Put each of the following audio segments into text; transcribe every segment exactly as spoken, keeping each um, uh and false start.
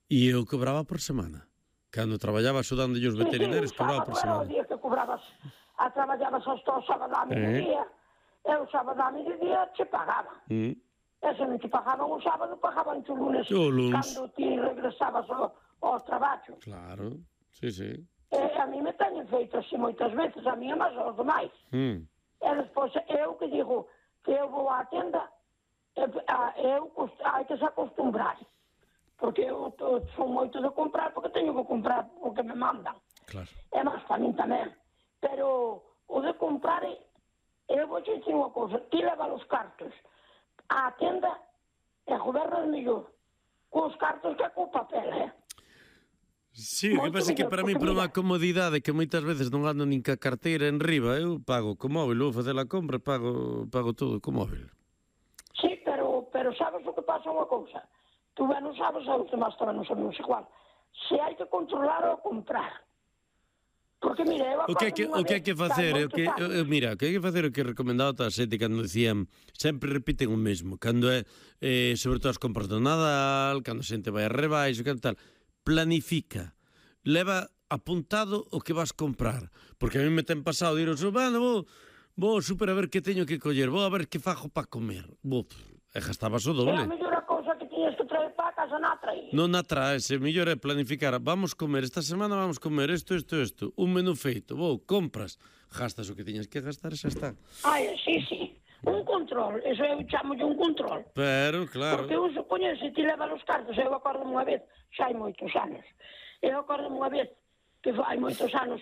E eu cobraba por semana. Cando traballaba axudando os veterinarios, sí, cobraba por semana. Era o día que cobrabas, a traballabas hasta o sábado a mediodía, e o sábado a mediodía te pagaban. Mm. E se non te pagaban o sábado, pagaban o lunes, O lunes. cando ti regresabas ao, ao traballo. Claro, sí, sí. E a mí me teñen feito así moitas veces, a mí é máis aos demais. Mm. E despois eu que digo que eu vou á tenda, e, a, eu hai que se acostumbrar. Porque eu, eu sou moito de comprar, porque teño que comprar o que me mandan. Claro. É máis para min tamén. Pero o de comprar, eu vou dicir unha cousa, ti leva os cartos á tenda e gobernas mellor cos cartos que co papel, eh? Sí, o que pasa é que para mí, por unha comodidade que moitas veces non ando nin ca carteira en riba, eu pago co móvil, vou facer a compra, pago, pago todo co móvil. Sí, pero, pero sabes o que pasa unha cousa? Tú ben non sabes, a os demás tamén non sabemos igual. Se hai que controlar ou comprar. Porque, mira, eu O que hai que, o que, hai que facer, o que, eu, mira, o que hai que facer o que recomendaba toda a xente cando decían, sempre repiten o mesmo, cando é, eh, sobre todo as compras do Nadal, cando a xente vai a rebaixo, que tal, planifica, leva apuntado o que vas comprar, porque a mí me ten pasado, diros, bueno, vou, vou super a ver que teño que coller, vou a ver que fajo para comer, vou, e gastabas o doble. É a mellor cousa que tiñes que traer para a casa na traí. Non na traes, o mellor é planificar, vamos comer, esta semana vamos comer isto, isto, isto, un menú feito, vou, compras, gastas o que tiñas que gastar e xa está. Ai, sí, sí, un control, eso eu chamo de un control. Pero, claro. Porque eu supoño, se ti levas os cartos, eu acordo unha vez, xa hai moitos anos, eu acordo unha vez, que hai moitos anos,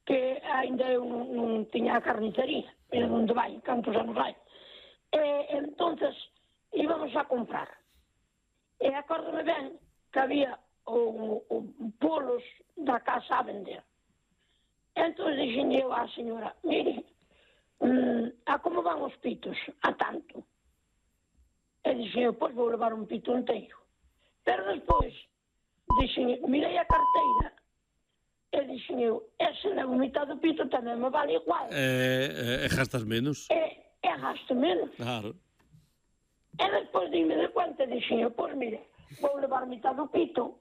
que ainda eu non, non tiña a carnicería, pero onde vai, cantos anos hai. E, entonces, íbamos a comprar. E acórdome ben que había o, o polos da casa a vender. Entón dixen eu á señora, mire, mm, a como van os pitos? A tanto. E dixen eu, pois vou levar un pito inteiro. Pero despois, dixen, mirei a carteira, e dixen eu, ese na mitad do pito tamén me vale igual. E, e, e gastas menos. E, e gasto menos. Claro. E despois dime de conta, dixen eu, pois mire, vou levar mitad do pito,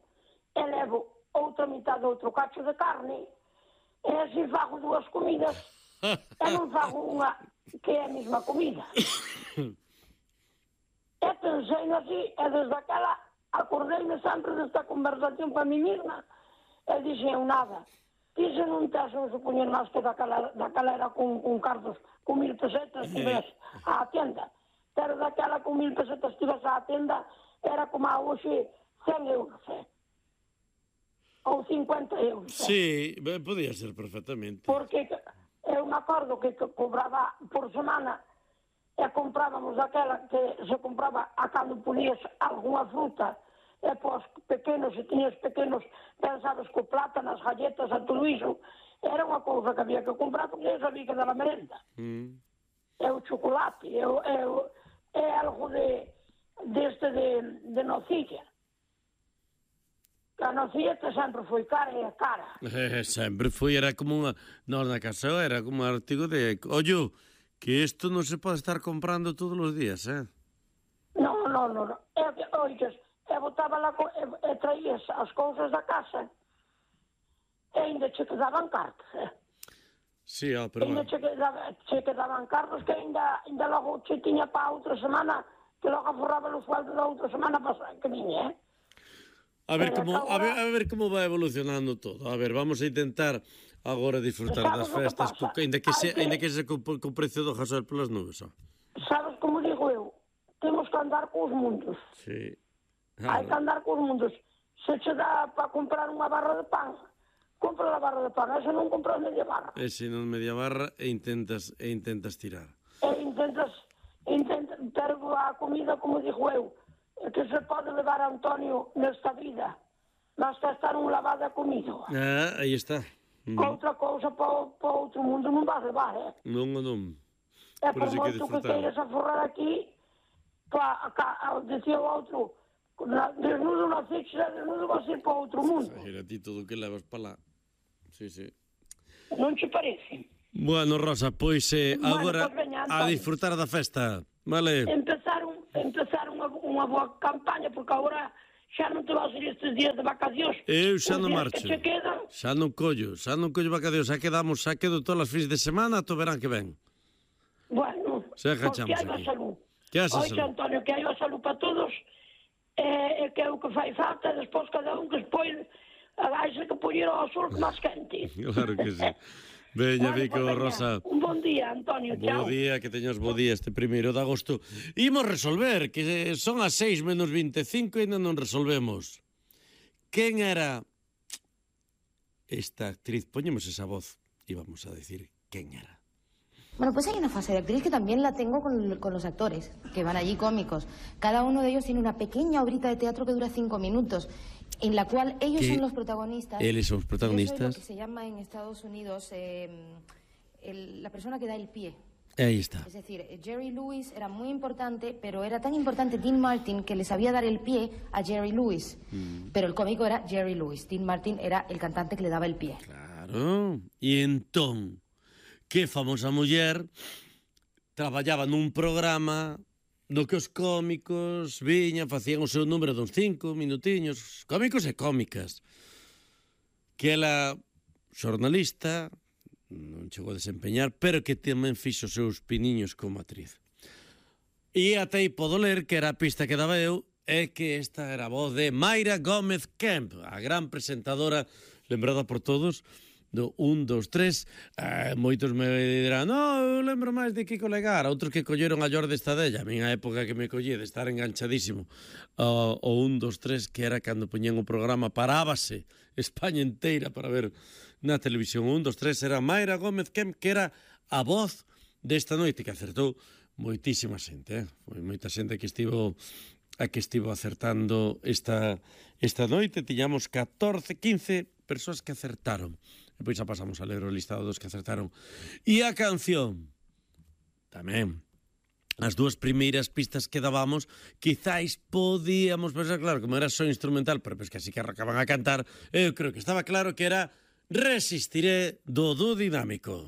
e levo outra mitad do outro cacho de carne, e así fago dúas comidas, e non fago unha que é a mesma comida. E pensei así, e desde aquela acordeime sempre desta conversación para mí mesma, e dixen eu nada, ti se non tes un supoñer máis que daquela, daquela era con, con cartos, con mil pesetas, que ves á tienda, pero daquela con mil pesetas tivas á tenda, era como a hoxe cen euros, eh? Ou cincuenta euros. Eh? Sí, podía ser perfectamente. Porque eu me acordo que, que cobraba por semana e comprábamos daquela que se compraba a cando ponías algunha fruta e pos pequenos, se tiñas pequenos, pensabas co plátano, as galletas, a todo iso, era unha cousa que había que comprar porque eu sabía que daba merenda. Mm. É o chocolate, é, é, é algo de deste de, de nocilla. A nocilla que sempre foi cara e é cara. Eh, sempre foi, era como unha... Nós na casa era como un artigo de... Ollo, que isto non se pode estar comprando todos os días, eh? Non, non, non. É que, oites, e botaba la, e, e traías as cousas da casa e ainda che quedaban cartas, eh? Sí, ó, pero... Ainda che, quedaba, che quedaban cartas que ainda, ainda logo che tiña para outra semana, que logo aforraba o sueldo da outra semana pasada que viña, eh? A ver, como, a, ver, a ver como vai evolucionando todo. A ver, vamos a intentar agora disfrutar das festas, que ainda que se, ainda que se co, co precio do gasoil polas nubes, ó. Sabes como digo eu? Temos que andar cos mundos. Sí. Ah, hai que andar cos mundos. Se che dá para comprar unha barra de pan, compra a barra de pan, e se non compras media barra. E se non media barra e intentas e intentas tirar. E intentas, intentas ter a comida, como digo eu, que se pode levar a Antonio nesta vida, basta estar un lavado a comido. Ah, aí está. Mm. Outra cousa para o outro mundo non vas levar, eh? Non, non. É por, por moito que, que queiras aforrar aquí, para, decía o outro, desnudo na ficha, desnudo vas ir para outro mundo. Era ti todo o que levas para lá. Sí, sí. Non che parece? Bueno, Rosa, pois eh, bueno, agora pues veña, a disfrutar da festa, vale? Empezar, un, empezar unha, unha boa campaña, porque agora xa non te vas ir estes días de vacacións. Eu xa Os non días marcho. que che quedan, Xa non collo, xa non collo vacacións, xa quedamos, xa quedo todas as fins de semana ata o verán que ven. bueno, Xa pois agachamos que hai a aquí. salud. Que hai a Oito, salud. Antonio, que hai a salud para todos, e, e que é o que fai falta, despois cada un que expõe, haxe que poñer ao sol máis quente. Claro que sí. Veña, Vale, Vico, pues, veña, Rosa. un bon día, Antonio, chao. Bo día, que teñas bo día este primeiro de agosto. Imos resolver, que son as seis menos vinte e cinco e ainda non resolvemos. Quen era esta actriz? Poñemos esa voz e vamos a decir quen era. Bueno, pues hay una fase de actriz que también la tengo con, con los actores, que van allí cómicos. Cada uno de ellos tiene una pequeña obrita de teatro que dura cinco minutos, en la cual ellos Que son los protagonistas. eles son os protagonistas. Yo soy lo que se llama en Estados Unidos eh, el- la persona que da el pie. Aí está. Es decir, Jerry Lewis era muy importante, pero era tan importante Dean Martin que le sabía dar el pie a Jerry Lewis. Mm. Pero el cómico era Jerry Lewis. Dean Martin era el cantante que le daba el pie. Claro. E entón, que famosa muller traballaba nun programa no que os cómicos viñan, facían o seu número duns cinco minutiños, cómicos e cómicas, que ela, xornalista, non chegou a desempeñar, pero que tamén fixo os seus piniños como actriz. E até aí podo ler que era a pista que daba eu, é que esta era a voz de Mayra Gómez Kemp, a gran presentadora, lembrada por todos, do un, dos, tres, eh, moitos me dirán, no, eu lembro máis de Kiko Legara, outros que colleron a Jordi Estadella, a minha época que me collí de estar enganchadísimo ao uh, un, dos, tres, que era cando poñían o programa, parábase España inteira para ver na televisión. Un, dos, tres, era Mayra Gómez Kemp, que era a voz desta noite, que acertou moitísima xente, eh? Foi moita xente que estivo a que estivo acertando esta, esta noite. Tiñamos catorce, quince persoas que acertaron. E pois xa pasamos a ler o listado dos que acertaron. E a canción, tamén, as dúas primeiras pistas que dábamos, quizáis podíamos pensar, claro, como era só instrumental, pero pois que así que arrancaban a cantar, eu creo que estaba claro que era Resistiré do Dúo Dinámico.